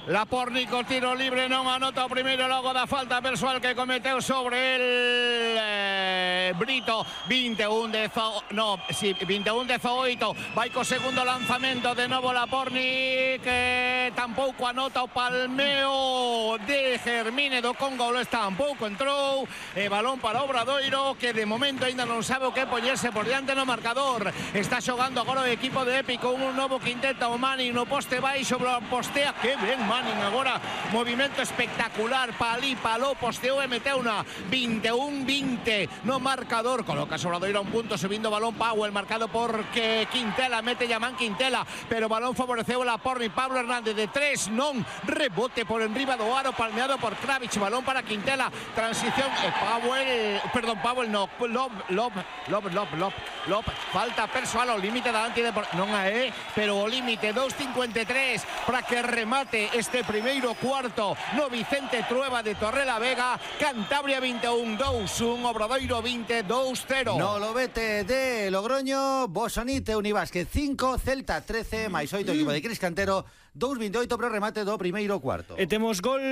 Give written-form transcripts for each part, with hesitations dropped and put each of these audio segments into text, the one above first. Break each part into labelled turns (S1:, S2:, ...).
S1: Laporni co tiro libre non anota o primeiro logo da falta persoal que cometeu sobre el Brito. 21-18, vai co segundo lanzamento de novo Laporni, que tampouco anota o palmeo de Germine do Congo, tampouco entrou, e balón para Obradoiro, que de momento ainda non sabe o que poñerse por diante no marcador. Está xogando agora o equipo de Epic con un novo quinteto, o Manning no poste baixo, postea, que ben Manning agora, movimento espectacular, paló, posteou e meteu na 21-20 no marcador. Coloca Obradoiro a un punto, subindo balón Powell, marcado por Quintela, mete Yaman Quintela, pero balón favoreceu a Laporni. Pablo Hernández de 3, non, rebote por enriba do aro, palmeado por Kravitz, balón para Quintela, transición, Powell no, Lob, falta persoal ao límite da non pero o límite 2.53 para que remate este primeiro cuarto no Vicente Trueba de Torrelavega. Cantabria 21-2-1, Obradoiro 22-0.
S2: No Lobete de Logroño, Bosonite Unibásquet 5, Celta 13, máis 8 equipo de Cris Cantero 2-28 pro remate do primeiro cuarto.
S3: E temos gol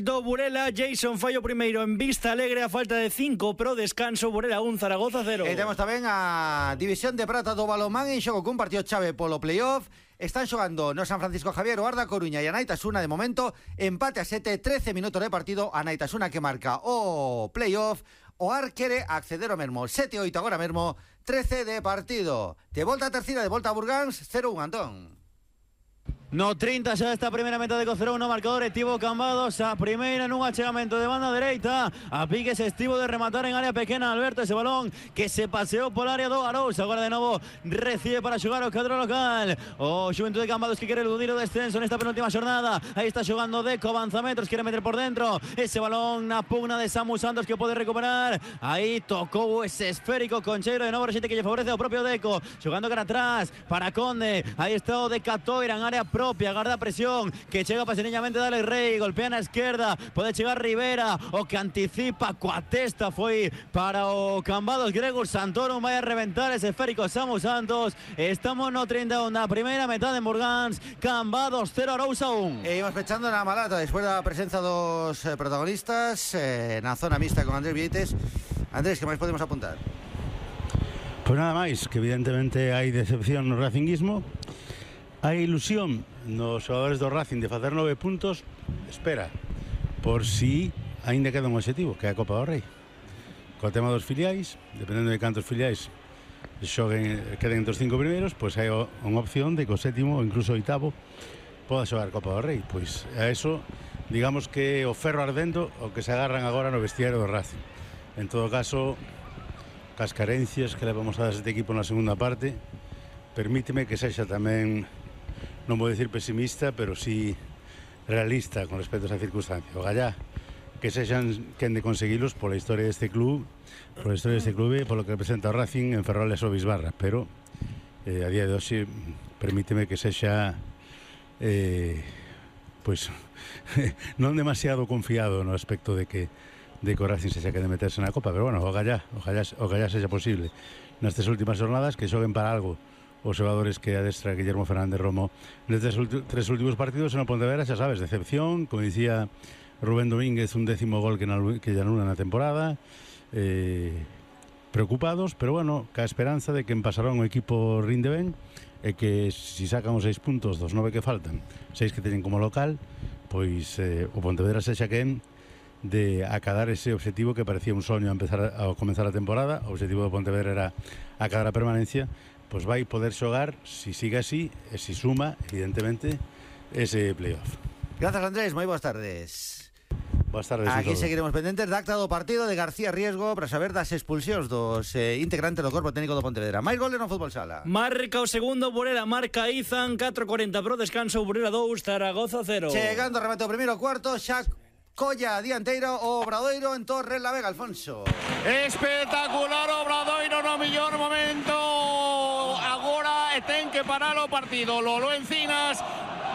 S3: do Burela, Jason fallo primeiro en Vista Alegre a falta de 5 pro descanso, Burela 1, Zaragoza 0.
S2: E temos tamén a División de Prata do balonmán en xogo cun partido chave polo playoff. Están xogando no San Francisco Javier, o Arda Coruña e a Naitasuna. De momento empate a 7, 13 minutos de partido. A Naitasuna que marca o playoff. O Ar quere acceder ao mesmo 7-8 agora mesmo, 13 de partido. De volta a terceira, de volta a Burgáns 0-1, Antón.
S4: No 30 xa esta primeira metade co 0-1 no marcador. Estivo Cambados a primeira nun achegamento de banda dereita, a piques estivo de rematar en área pequena Alberto, ese balón que se paseou por área do Arousa. Agora de novo recibe para xogar o cadro local o Xuventude de Cambados, que quere eludir o descenso nesta penúltima xornada. Aí está xogando Deco, avanza metros, quere meter por dentro ese balón na pugna de Samu Santos, que pode recuperar. Aí tocou ese esférico Concheiro, de novo rexente que lle favorece ao propio Deco, xogando cara atrás para Conde. Aí está o de Catoira en área propia, agarda presión, que chega paseniñamente Dale Rey, golpea na esquerda, pode chegar Rivera, o que anticipa coa testa foi para o Cambados. Gregor Santoro vai a reventar ese esférico Samu Santos. Estamos no 31 na primeira metade en Burgáns, Cambados 0, Arousa 1.
S2: E imos pechando na Malata despois da presenza dos protagonistas na zona mixta con Andrés Vieites. Andrés, que máis podemos apuntar?
S5: Pois nada máis, que evidentemente hai decepción no racinguismo. Hai ilusión nos xogadores do Racing de facer 9 puntos. Espera, por si aínda queda un objetivo, que é a Copa do Rei. Co tema dos filiais, dependendo de cantos filiais queden entre os 5 primeiros, pois hai unha opción de que o sétimo ou incluso o oitavo poda xogar Copa do Rei. Pois a eso, digamos que o ferro ardendo o que se agarran agora no vestiario do Racing. En todo caso, cas carencias que levamos a este equipo na segunda parte, permíteme que sexa tamén, non vou dicir pesimista, pero sí realista con respecto a esa circunstancia. Ogallá que sexan quen de conseguilos pola historia deste club, pola historia deste clube, polo que representa o Racing en Ferroles ou Bisbarra, pero a día de hoxe permíteme que sexa pois non demasiado confiado no aspecto de que o Racing sexa que de meterse na Copa, pero bueno, ogallá sexa posible nestas últimas jornadas que xoguen para algo os xogadores que adestra Guillermo Fernández Romo nestes tres últimos partidos. En o Pontevedra, xa sabes, decepción, como dicía Rubén Domínguez, un 10º gol que lle anula na temporada, preocupados, pero bueno, ca esperanza de que en Pasarón o equipo rinde ben e que si sacan os 6 puntos dos 9 que faltan, 6 que teñen como local, pois o Pontevedra sexa quen de acadar ese objetivo que parecía un soño a comenzar a temporada. O objetivo do Pontevedra era acadar a permanencia. Pois vai poder xogar, si sigue así, e si suma, evidentemente, ese playoff.
S2: Grazas, Andrés, moi boas tardes.
S5: Boas tardes.
S2: Aquí seguiremos pendentes da acta do partido de García Riesgo para saber das expulsións dos integrantes do corpo técnico do Pontevedra. Máis goles no fútbol sala.
S3: Marca o segundo Burela, marca Izan, 4:40 pro descanso, Burela 2, Zaragoza 0.
S2: Chegando a remate o primeiro cuarto, xa Colla dianteiro, o Obradoiro en Torrelavega, Alfonso.
S1: Espectacular Obradoiro no mellor momento. Agora ten que parar o partido. Lolo Encinas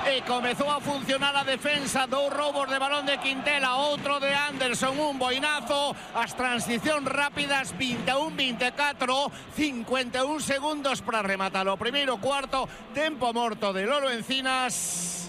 S1: e comezou a funcionar a defensa. 2 roubos de balón de Quintela, outro de Anderson, un boinazo. As transicións rápidas, 21-24, 51 segundos para rematar o primeiro cuarto. Tempo morto de Lolo Encinas.